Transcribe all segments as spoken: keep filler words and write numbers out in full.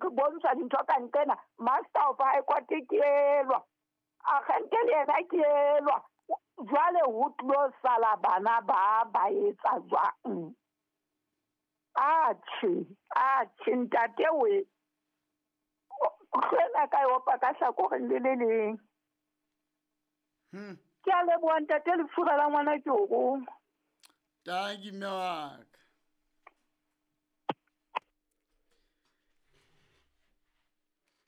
Re bontsha dintho ka nqena, Master of High Court ke elwa, agente le yena ke elwa. Jwale ho tlo sala bana ba ba etsa jwang? Atjhe, atjhe ntate we. Hlwela ka e opa ka hlakoreng le le leng. Hmm. Ke a leboha ntate, lefura la ngwana ke o roma. Tanki mme wa ka.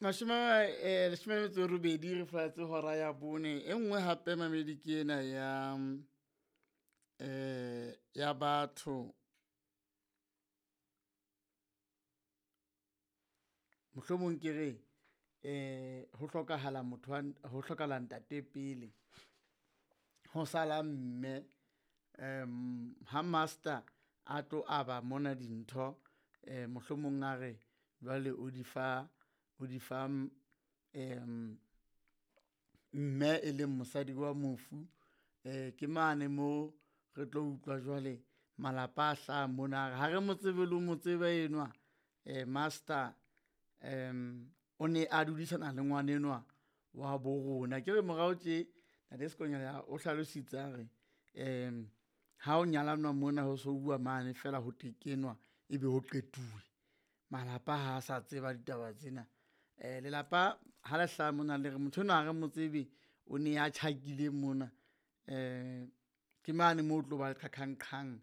Mashome eh leshome le metso e robedi re flatse hora ya bone. E nngwe hape mamedi ke ena ya, eh, ya batho. Mohlomong ke re, eh, ho hlokahala motho wa, ho hlokahala ntate pele, ho sala mme. Em, ha master a tlo aba mona dintho, eh, mohlomong a re jwale o di fa, o di fa, em, mme e leng mosadi wa mofu. Eh, ke mane mo re tlo utlwa jwale malapa a hlaha mona, ha re mo tsebe le mo tseba enwa, eh, master, em, o ne a dudisana le ngwana enwa wa bo rona. Ke re morao tje Ntate Sekonyela o hlalositse a re, em, ha o nyalanwa mona ho so bua mane fela ho tekenwa ebe ho qetuwe. Malapa ha a sa tseba ditaba tsena. Eh, lelapa ha le hlaha mona le re motho enwa ha re mo tsebe, o ne a tjhakile mona. Eh, ke mane moo o tlo ba le qhaqhang-qhang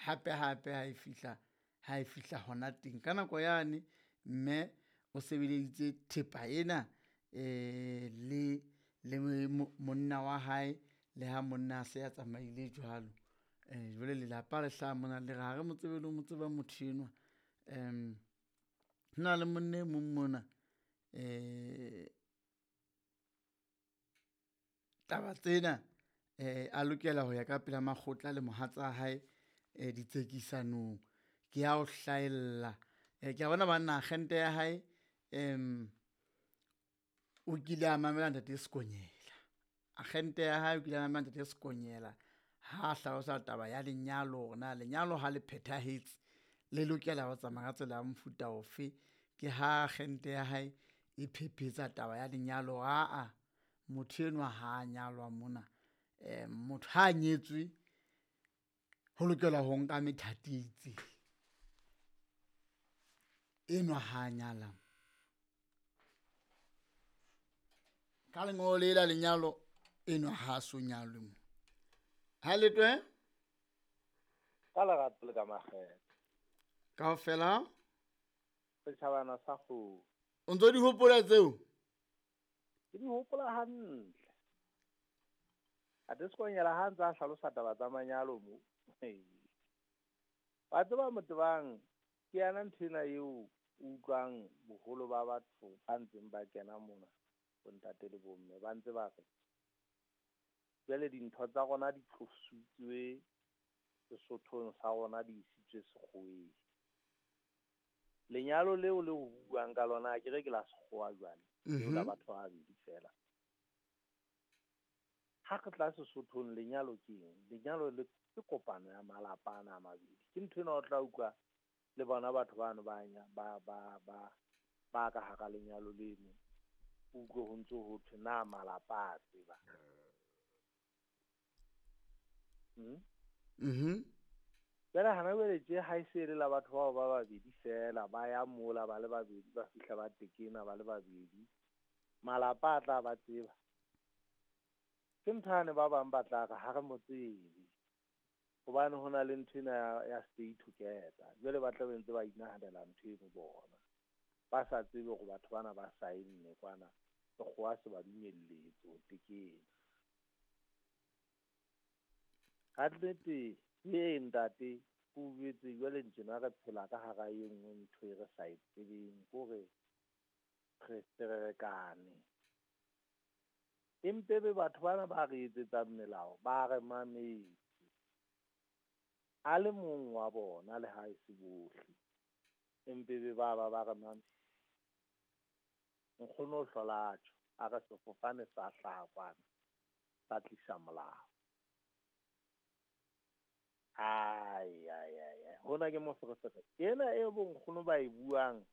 hape hape ha e fihla, ha e fihla hona teng. Ka nako yane mme o sebeleditse thepa ena, eh, le, le monna wa hae, le ha monna a se a tsamaile jwalo. Eh, jwale lelapa le hlaha mona le re ha re mo tsebe le mo tseba motho enwa. Em, ho na le monna e mong mona, eh, taba tsena, eh, a lokela ho ya ka pela makgotla le mohatsa hae, eh, ditsekisanong. Ke ya o hlaella. Eh, ke a bona banna agente ya hae, em, o kile a mamela Ntate Sekonyela. Agente ya hae o kile a mamela Ntate Sekonyela ha a hlalosa taba ya lenyalo, hore na lenyalo ha le phethahetse le lokela ho tsamaya ka tsela ya mofuta ofe. Ke ha agente ya hae e phephetsa taba ya lenyalo, aa motho enwa ha a nyalwa mona. Eh, motho ha a nyetswe ho lokela ho nka methati e itseng. Enwa ha a nyala. Ka lengolo le la lenyalo enwa ha a so nyalwe mo. Ha le twe? Ka lerato le ka makgethe. Kaofela? Setjhabana sa kgomo. O ntso di hopola tseo? Ke di hopola hantle. Ate Sekonyela ha ntse a hlalosa taba tsa manyalo mo. Wa tseba Motebang, ke yana ntho ena eo o utlwang boholo ba batho ba ntseng ba kena mona, bontate le bomme, ba ntse ba re jwale dintho tsa rona di tlositswe Sesothong sa rona, di isitswe sekgoweng. Lenyalo leo le o buang ka lona, ke re ke la sekgowa jwale, leo la Mhm. batho ba babedi fela. Ha re tla Sesothong, lenyalo ke eng? Lenyalo le ke kopano ya malapa ana a mabedi. Ke ntho ena o tla utlwa le bona batho bano ba nya, ba, ba, ba, ba ka hara lenyalo leno. O utlwe ho ntso ho thwe na malapa a tseba. Hmm? Mhm. Jwale hana jwale tje ha e se e le la batho bao ba babedi fela, ba ya mola ba le babedi, ba fihla ba tekena ba le babedi. Malapa a tla ba tseba. Ke ntho yane ba bang ba tla re ha re mo tsebe. Hobane ho na le ntho ena ya, ya stay together. Jwale ba tla be ntse ba inahanela ntho eno bona. Ba sa tsebe hore batho bana ba saenne kwana, sekgowa se ba dumelletse ho tekena. Ka nnete, ee ntate, ke o jwetse jwale tjena re phela ka hara e nngwe ntho e re sa e tsebeng, ke hore re ferekane. Empe be batho bana ba re etsetsang melao, ba re mametse. A le mong wa bona le ha e se bohle, empe be ba ba ba re mametse. Nkgono o hlola tjho, a re sefofane sa hlaha kwana, sa tlisa molao. Ai, ai, ai, ai. Hona ke moferefere. Ena e bonkgono ba e buang,